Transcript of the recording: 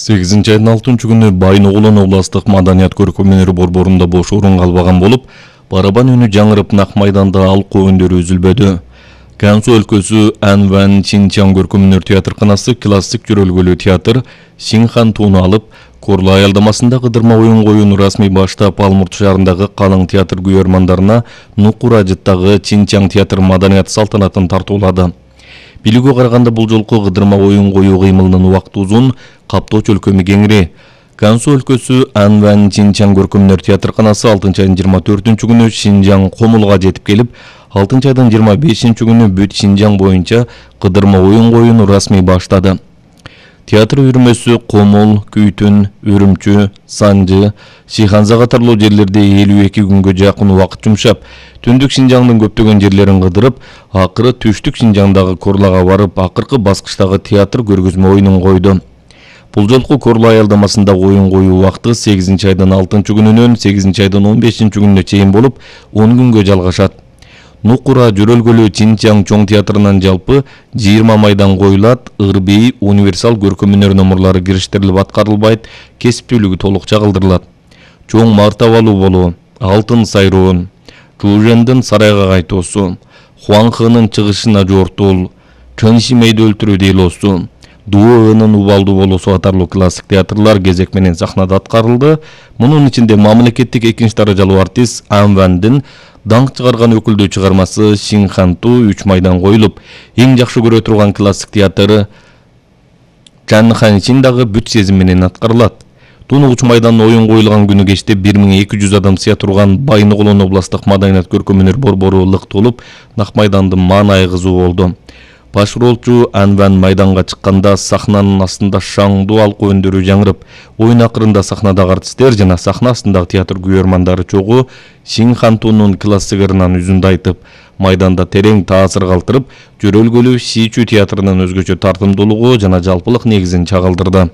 8 айдын 6-күнү Байногулон областык маданият көркөмүнөр борборунда бош орун калбаган болуп, барабан үнү жаңырып Нак майданда алкоо өндөрү үзүлбөдү. Гансу өлкөсү Анван Чинчан көркөмүнөр театрканасы классик жөрөлгөлүү театр Синхан тууну алып, Корлу аялдамасында кыдырма оюн коюуну расмий баштап, Алмурт шаарындагы калың театр күйөрмандарына Нукура жыттагы Чинчан театр маданият салтанатын тартуулады. Билүүгө караганда бул жолку кыдырма оюн коюу кыймылынын убакыты узун, каптоо чөлкөмү кеңири. Гансу өлкөсү Анван Чинчан көркөмүнөр театрканасы 6 айдын 24-күнү Шинжаң Комулга жетип келип, 6 айдын 25-күнү бүт Шинжаң боюнча кыдырма оюн коюуну расмий баштады. Театр үйрмөсү Комул, Күйтүн, Үрүмчү, Санжы, Шиханза катарлуу жерлерде 52 күнгө жакын убакыт жумшап, түндүк Шинжаңдын көптөгөн жерлерин кыдырып, акыры түштүк Шинжаңдагы Корлага барып, акыркы баскычтагы театр көргөзмө оюнун койду. Бул жолку Корлу аялдамасында оюн коюу убакыты 8 айдын 6-күнүнөн 8 айдын 15-күнүнө чейин болуп, 10 күнгө жалгашат. Нукура жөрөлгөлүү Чинчан чоң театрынан жалпы 20 майдан коюлат, ырбий, универсал көркөмүнөр номурлары кириштирилип аткарылбайт, кесиптүүлүгү толук чагылдырылат. Чоң мартабалуу болуу, Алтын сайроон, Чужендин сарайга кайтуусу, Хуанхынын чыгышына жортул, Чыншимейди өлтүрүү дейлоосу, Дуоөнүн убалдуу болуусу катарлуу классик театрлар кезек менен сахнада аткарылды. Мунун ичинде мамлекеттик 2-даражалуу артист Анвандын даңк чыгарган өкүлдүү чыгармасы Шинханту 3 майдан коюлуп, эң жакшы көрө турган классик театр Чанханшин дагы бүт сезим менен аткарылат. Туну 3 майдан оюн коюлган күнү кечте 1200 адам сыя турган Байногулон областык маданият көркөмүнөр борбору лык толуп, Нак майдандын маанайы кызуу болду. Баш ролчу Анван майданга чыкканда сахнанын астында шаңдуу алкоо өндөрү жаңырып, оюн акырында сахнадагы артисттер жана сахна астындагы театр күйөрмандары чогуу Шинхантунун классигеринен үзүндү айтып, майданда терең таасир калтырып, жөрөлгөлүү Сичу театрынын өзгөчө тартымдуулугу жана жалпылык негизин чагылдырды.